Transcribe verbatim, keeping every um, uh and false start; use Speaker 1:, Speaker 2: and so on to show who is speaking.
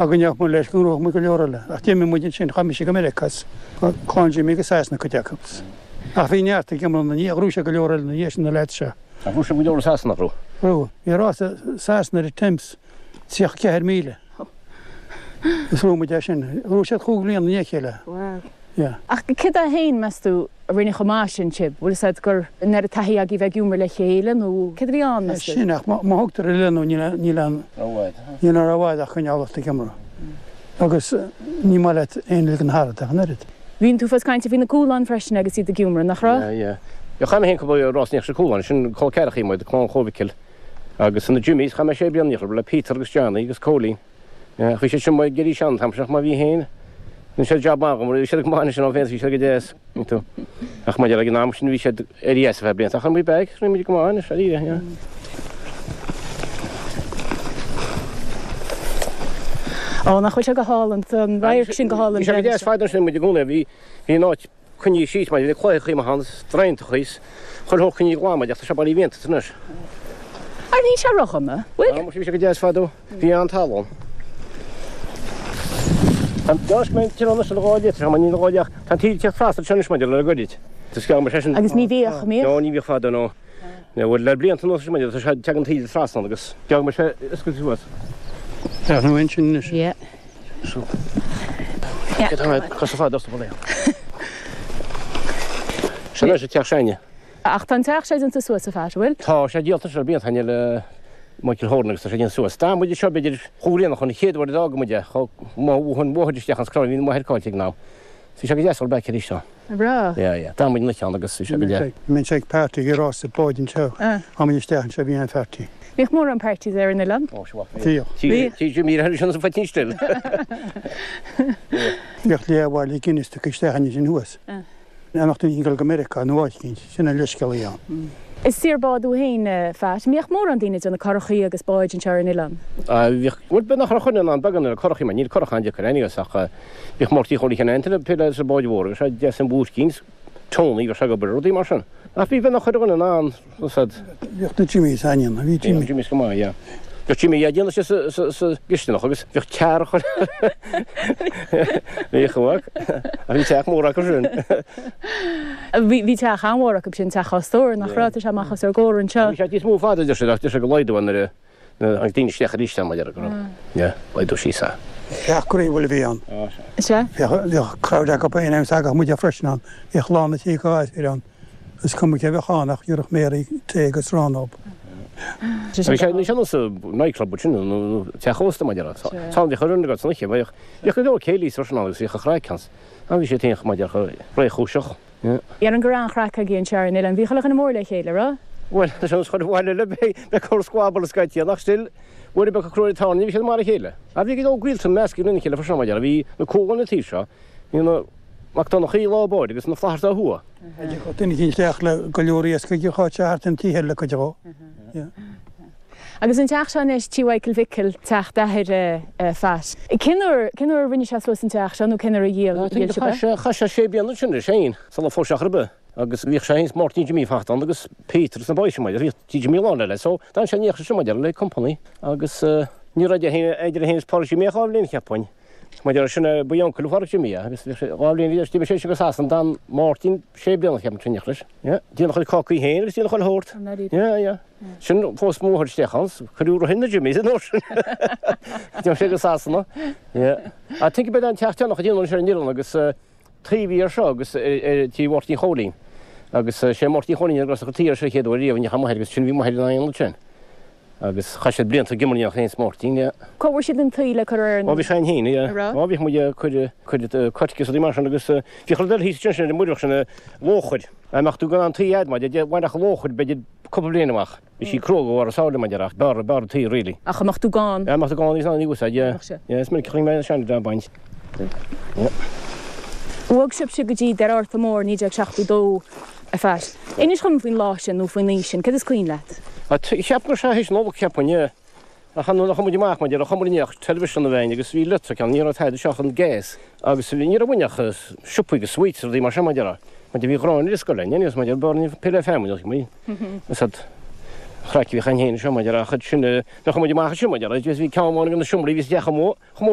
Speaker 1: Ach go ndeachaigh muid leis go ngnóthódh muid go leor eile. Ach d'imigh muid ansin, chaith mise go Meiriceá is clann Jimmy go Sasana cuid acu. Ach bhí neart ag imeall na ndiaidh, ghnóthaigh sé go leor eile ina dhiaidh sin na leaids seo.
Speaker 2: Ach ghnóthaigh sé go leor i Sasana, nach raibh?
Speaker 1: Raibh. Bhí rás i Sasana ar an Thames, tríocha ceathair míle. Is bhuaigh muid é sin. Ghnóthaigh siad chúig bhliain i ndiaidh a chéile.
Speaker 3: Wow.
Speaker 1: Yeah.
Speaker 3: Ach céard é féin, meas tú, a rinne chomh maith sin sibh? Bhfuil fhios a'd gur an oiread taithí agaibh bheith ag iomramh le chéile nó céard a bhí ann, meas tú?
Speaker 1: Sin ach má thugtar ar leith nó níl aon níl aon ró-fhad ach coinneáil ort ag iomramh. Agus ní maith leat aon ligean tharat ach an oiread.
Speaker 3: Bhí tú fós cainte faoi na Cualáin freisin agus iad ag iomramh, nach raibh?
Speaker 2: Yeah, yeah. Yeah, chaith mé féin cúpla rás in éineacht leis na Cualáin, sin col ceathrachaí muid, clann Chóil Mhicil. Agus na Jimmys, chaith mé sé bliana in éineacht leo, le Peter agus Johnny agus Cóilín. Yeah, bhí siad sin ag éirí sean an t-am sin ach má bhí féin, rinne siad jab maith agam, bhí siad go maith anois ann féin, bhí siad go deas, you know. Ach maidir ag an am sin bhí siad ar dheas a bheith blianta, ach an bhí bag, rinne muid go maith anois, ar yeah.
Speaker 3: Ó, nach bhfuil sé go hálainn, tá an radharc sin go hálainn.
Speaker 2: Bhí sé go deas fada ansin muid i gcónaí, bhí bhí an áit coinnithe síos mar bhí cloicheachaí maith ann, draentachaí, chuile shórt coinnithe glan mar ach tá sé bailithe mhianta anois.
Speaker 3: Ar níl sé ródhona, bhfuil?
Speaker 2: Á, bhí sé go deas fadó, bhí an-talamh ann. Tá an deasc mé tir anois le dhá litir, tá níl dhá leath, tá an taoille ag teacht trasna anseo anois maidir le goirid. Tá sceall mar sin.
Speaker 3: Agus ní bhíodh, an mbíodh?
Speaker 2: No, ní bhíodh fadó, no. Nó bhuel le blianta anuas anois maidir, tá sé, tagann taoille trasna ann agus geall mar sé oscailte suas.
Speaker 1: Tá nó ansin anois.
Speaker 3: Yeah.
Speaker 2: Sin anois an teach s'againne.
Speaker 3: Ach tá an teach seo déanta suas a Phat, an bhfuil?
Speaker 2: Tá sé díolta anois le blianta ó shin le Michael Horan agus tá sé déanta suas. D'fhan muid anseo b'fhéidir chúig bhliana chun an chéad uair a d'fhága muid é, chomh an bhóthair isteach an scráib, bhí m'athair caillte ag an am. Bhí sé go deas dul back arís ann.
Speaker 3: Breá.
Speaker 2: Yeah, yeah. D'fhan muid an oíche ann agus bhí sé go deas.
Speaker 1: Bhí sé ag party ag rás báid anseo. Tháinig muid isteach anseo, bhí an party.
Speaker 3: Bhíodh mórán parties ar an oileán?
Speaker 2: Ó, sea,
Speaker 1: bhíodh.
Speaker 2: Bhíodh. Bhí Jimmy ar sin sa phoitín stil.
Speaker 1: Bhíodh leathbhaile Guinness tugtha isteach ansin thuas. Amach duine ag dul go Meiriceá nó áit éicint, sin an leithscéal a bhí ann.
Speaker 3: Is saor bád thú féin, a Phat. Mbíodh mórán daoine ag déanamh curachaí agus báid anseo ar an oileán?
Speaker 2: Bhíodh, bhuel, b'fhéidir nach raibh chuile dhuine in ann beagán ar curachaí mar níl curach an-deacair anyways ach bhíodh Máirtín Chóilí Sheáin Antaine ag plé leis an báid mhór agus sé deas an buaircín Tony bhíodh sé ag obair ar rudaí mar sin. Ach bhí bheith nach chuile dhuine in ann úsáid.
Speaker 1: Bhíodh na Jimmys anion, bhí Jimmy.
Speaker 2: Bhí Jimmys go maith, yeah. Bhíodh Jimmy, yeah, déanadh sé sa, sa, sa gcistineach agus bhíodh tear chuile Bhíodh a mhac. Ach bhí teach mór acu sin.
Speaker 3: Bhí, bhí teach an-mhór acu sin, teach Dhá Stór, nach raibh? Tá sé amach os ár gcomhair anseo.
Speaker 2: Bhí sé níos mó fada, deir siad, ach deir siad gur laghdú é nuair a tháinig daoine isteach arís ann, mar a déarfá, go raibh, yeah, laghdú síos é.
Speaker 1: Teach groíúil a bhí ann.
Speaker 3: Sea.
Speaker 1: Bhíodh, bhíodh crowd acu féin agus thagadh muide freisin ann. Bhíodh lán na tí go gasúir ann. Is cuma cé a bheadh ann ach gheobhadh Mary tae agus arán dóibh.
Speaker 2: Bhí sé níos sine sa nightclub sin nó teach ósta mar a déarfá. Tá bhíodh ar an agat san oíche, bhíodh bhíodh go leor céilís freisin ann agus bhíodh an chraic ann. An bhí sé féin mar a déarfá réchúiseach.
Speaker 3: Déarfainn go raibh an-chraic agaibh anseo ar an oileán. Bhí chuile dhuine mór le chéile, raibh?
Speaker 2: Bhuel, tá sé nós chuile bhaile eile beidh corr squabble scaití ann ach still, uair ar bith ag cur ar an tairne bhí siad mar a chéile. Ach bhí go leor gaolta measctha lena chéile freisin mar a déarfá. Bhí na Cualáin an taobh seo, bhí na Mac Donnchaí lá báire agus na Flatharta ó thuaidh.
Speaker 1: Thiocfadh duine éicint isteach le go leor iascaigh a chaitheadh sé thart an tí thoir le cuid dhó.
Speaker 3: Agus an teach seo anois, Tí Mhichael Mhicil, teach d'athair Phat. Cén uair, cén uair a rinne sé suas an teach seo nó cén uair a dhíol, dhíol sibh é?
Speaker 2: Chaith sé, chaith sé sé bliana ansin leis féin sula phós sé chor ar bith agus bhíodh sé féin is Máirtín Jimí ag fanacht ann agus Peter agus na boys sin mar bhíodh tí Jimí lán le so d'fhan sé in éineacht leis sin mar a déarfá le company agus ní raibh idir é féin, idir é féin is Pádraig Jimí ach dhá bhliain cheapfainn. Mar a déarfá sin é ba uncail Phádraig Jimí é agus bhí sé dhá bhliain bhí d'imigh sé sin go Sasana d'fhan Máirtín sé bliana cheapfainn in éineacht leis. Yeah. Déanadh a chuid cácaí féin agus déanadh chuile shórt. Yeah, yeah. Sin phós mo mháthair isteach ann, cuireadh roimhe na Jimmys an uair sin. D'imigh sé go Sasana. Yeah. I think about an teach deireanach a déanadh anseo ar an oileán agus taobh thiar seo agus ar tí Mháirtín Chóilín. Agus sé Máirtín Chóilín a chuir tuí air seo chéad uair riamh i ndiaidh a máthair agus sin bhí máthair ina ionad sin. Agus chaith siad blianta ag imirt féin is Máirtín, yeah.
Speaker 3: Cá bhfuair siad an tuí le cur ar an.
Speaker 2: Ó bhí sé ann féin, yeah.
Speaker 3: An raibh?
Speaker 2: Ó bhíodh muid ag cur, cur coirce is rudaí mar sin agus bhíodh rud eile thíos ansin ar an muireach sin, lóchair. Dá mbeadh tú gan an tuí adhmaid, bhainfeadh an lóchair b'fhéidir cúpla bliain amach. Bhí sí cruaidh go bharr a sáile mar a déarfá ach b'fhearr, b'fhearr an tuí really.
Speaker 3: Ach dá mbeadh tú gann.
Speaker 2: Dá mbeadh tú gann níos ná ní úsáid, yeah.
Speaker 3: Bheadh sé.
Speaker 2: Yeah, is minic a chonaic mé seandaoine á baint. Yeah.
Speaker 3: Bhog sibhse go dtí Doire Fhearta Mór naoi déag seachtó dó. A Phat. Inis dhom faoin lá sin nó faoin oíche sin, céard is cuimhin leat?
Speaker 2: Cheap go raibh sé théis Nollag, cheapfainn, yeah. Ach nuair a chuaigh muid amach, mar a déarfá, chuamar i ndiaidh television a bheith againn agus bhí electric ann, ní raibh tada anseo ach an gas agus ní raibh uainn ach siopaí agus sweets is rudaí mar sin, mar a déarfá. Mar bhí gráin ar an scoil againn, anyways, mar a déarfá, b'fhearr pé le feamainn a bhí is an chraic a bhíodh againn féin anseo, mar a déarfá, ach sin, nuair a chuaigh muid amach ansin, mar a déarfá, bhí ceann amháin de na seomraí a bhí sa teach amuigh, chomh mór